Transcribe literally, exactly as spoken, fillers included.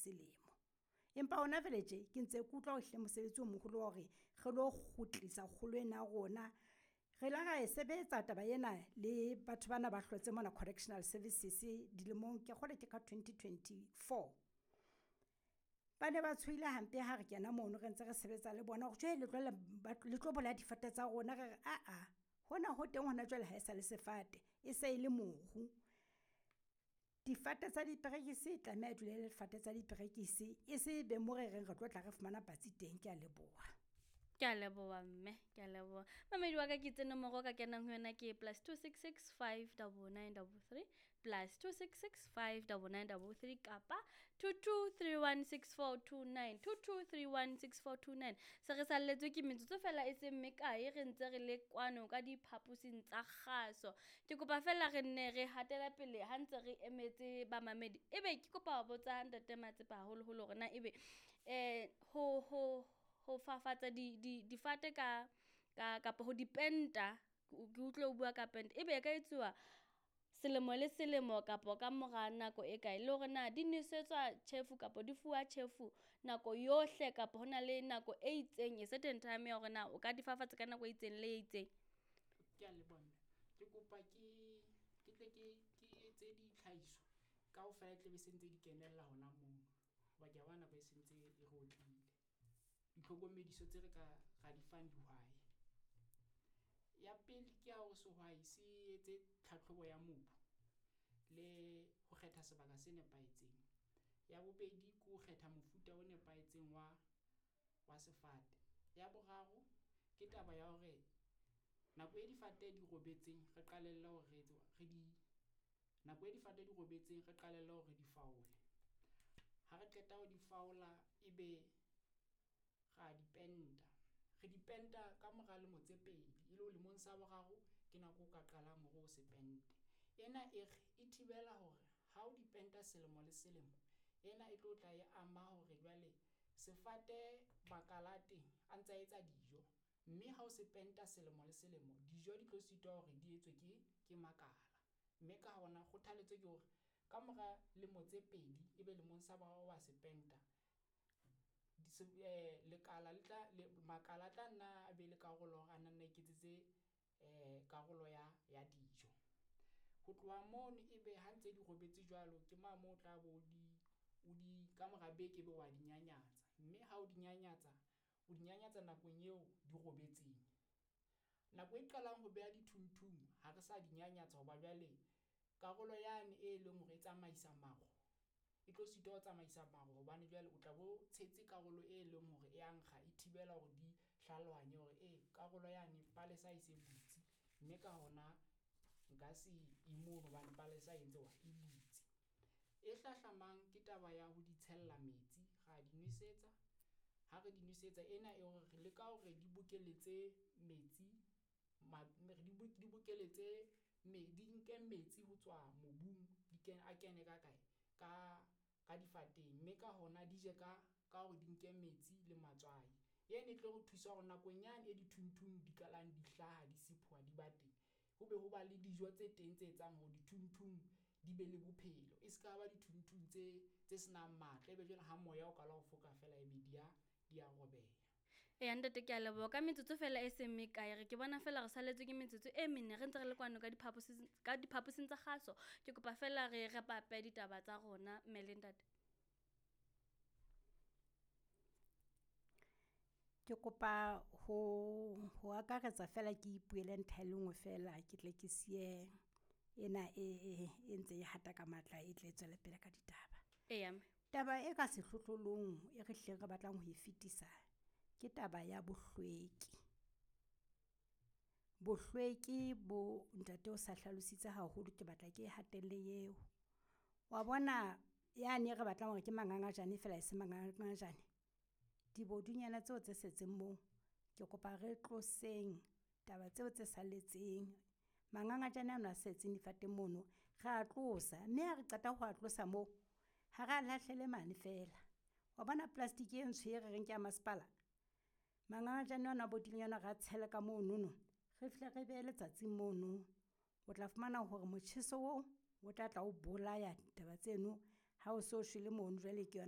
selemo. Empa hona jwale tje ke ntse ke utlwa ehlile mosebetsi o moholo wa hore re lo kgutlisa kgolo ena ya rona. Re la ra e sebetsa taba ena le batho bana ba hlotse mona Correctional Services dilemong, kea kgolwa ke ka twenty twenty-four. Ba ne ba tshohile hampe ha re kena mono re ntse re sebetsa le bona hore tjhe le tlohella le tlo bolaya difate tsa rona. Re re aa hona ho teng hona jwale ha e sa le sefate e se le moru. Difate tsa diperekisi e tlameha e dule e le difate tsa diperekisi e se be mo re reng re tlo tla re fumana patsi teng, kea leboha. Kea leboha mme, kea leboha. Mamedi wa ka ke itse nomoro o ka kenang ho yona ke plus two six six five double nine double three, plus two six six five double nine double three kapa two two three one six four two nine, two two three one six four two nine. Se re salletswe ke metsotso fela e seng mekae re ntse re le kwano ka diphaposing tsa kgaso. Ke kopa fela re nne re hatela pele ha ntse re emetse bamamedi. Ebe ke kopa ho botsa Ntate Matsepe haholoholo hore na ebe eh ho ho ho fafatsa di di difate ka ka kapa ho dipenta, ke utlwe o bua ka pente, ebe e ka etsuwa selemo le selemo kapa ka mora nako e kae? Le hore na di nwesetswa tjhefu kapa di fuwa tjhefu nako yohle kapa hona le nako e itseng, a certain time ya hore na o ka di fafatsa ka nako e itseng le e itseng? Kea leboha mme. Ke kopa ke ke tle ke ke etse ditlhahiso kaofela e tla be se ntse di kenella hona mono. Hoba ke a bona nako e sentse e re otlile. Ditlhokomediso tse re ka ra di fang dihwai. Ya pele ke ya hore sehwai se etse tlhatlhobo ya mobu le ho kgetha sebaka se nepahetseng. Ya bobedi ke ho kgetha mofuta o nepahetseng wa wa sefate. Ya boraro ke taba ya hore nako e difate di robetseng re qalelle hore re etse re di nako e difate di robetseng re qalelle hore di faole. Ha re qeta ho di faola, ebe ra di penta. Re di penta ka mora lemo tse pedi, e le ho lemong sa boraro ke nako o ka qalang hore o se pente. Ena e re e thibela hore ha o di penta selemo le selemo, ena e tlo tla e ama hore jwale sefate makala a teng a ntsa etsa dijo, mme ha o se penta selemo le selemo dijo di tlo sitwa hore di etswe ke ke makala. Mme ka hona kgothaletso ke hore ka mora lemo tse pedi ebe lemong sa boraro wa se penta. Lekala le tla le makala a tla nna a be le karolo hore a na nna iketsetse karolo ya ya dijo. Ho tloha mono ebe ha ntse di robetse jwalo, ke ma moo o tla bo di o di ka mora beke ebe wa di nyanyatsa. Mme ha o di nyanyatsa, o di nyanyatsa nakong eo di robetseng. Nako e qalang ho beha dithunthung ha re sa di nyanyatsa hoba jwale karolo yane e leng hore e tsamaisa maro e tlo sitwa ho tsamaisa maro hobane jwale o tla bo tshetse karolo e leng hore e ya nkga e thibela hore di hlalohanye hore e karolo yane palesa e se butse. Mme ka hona nka se mono hobane palesa e entse e butse. E hlahlamang ke taba ya ho di tshella metsi, ra di nwesetsa. Ha re di nwesetsa ena e hore re leka hore di bokeletse metsi di bokeletse di nke metsi ho tswa mobung, di kene a kene ka kae ka ka difateng. Mme ka hona di je ka ka hore di nke metsi le matswai. Ena e tlo re thusa hore nakong yane e dithunthung di qalang di hlaha, di siphoha di ba teng, ho be ho ba le dijo tse teng tse etsang hore dithunthung di be le bophelo. E ska ba dithunthung tse tse senang matla, ebe jwale ha moya o qala ho foka feela ebe di ya di ya robeha. Eya ntate ke a leboha ka metsotso fela e seng mekae, re ke bona fela re salletswe ke metsotso e mene re ntse re le kwano ka diphaposing ka diphaposing tsa kgaso. Ke kopa fela re re pape ditaba tsa rona mme le ntate. Ke kopa ho ho akaretsa fela ke ipuele ntlha e le nngwe fela ke tle ke siye ena e e e ntse e hata ka matla e tle e tswele pele ka ditaba. Eya mme. Taba e ka sehlohlolong e re hlileng re batlang ho e fetisa, ke taba ya bohlweki. Bohlweki bo ntate o sa hlalositse haholo ke batla ke e hatelle eo. Wa bona yane e re batlang hore ke mangangajane feela e se mangangajane, dibodunyana tseo tse setseng moo, ke kopa re tloseng taba tseo tse salletseng. Mangangajane ano a setseng difateng mono ra tlosa, mme ha re qeta ho a tlosa moo, ha re a lahlele mane feela. Wa bona plastic e ntsho e re reng ke ya masepala, mangangajane ano a bodileng ana re a tshele ka monono, re fihle re behe letsatsing mono. O tla fumana hore motjheso oo o tla tla o bolaya taba tseno ha o so shwele mono jwale ke yona.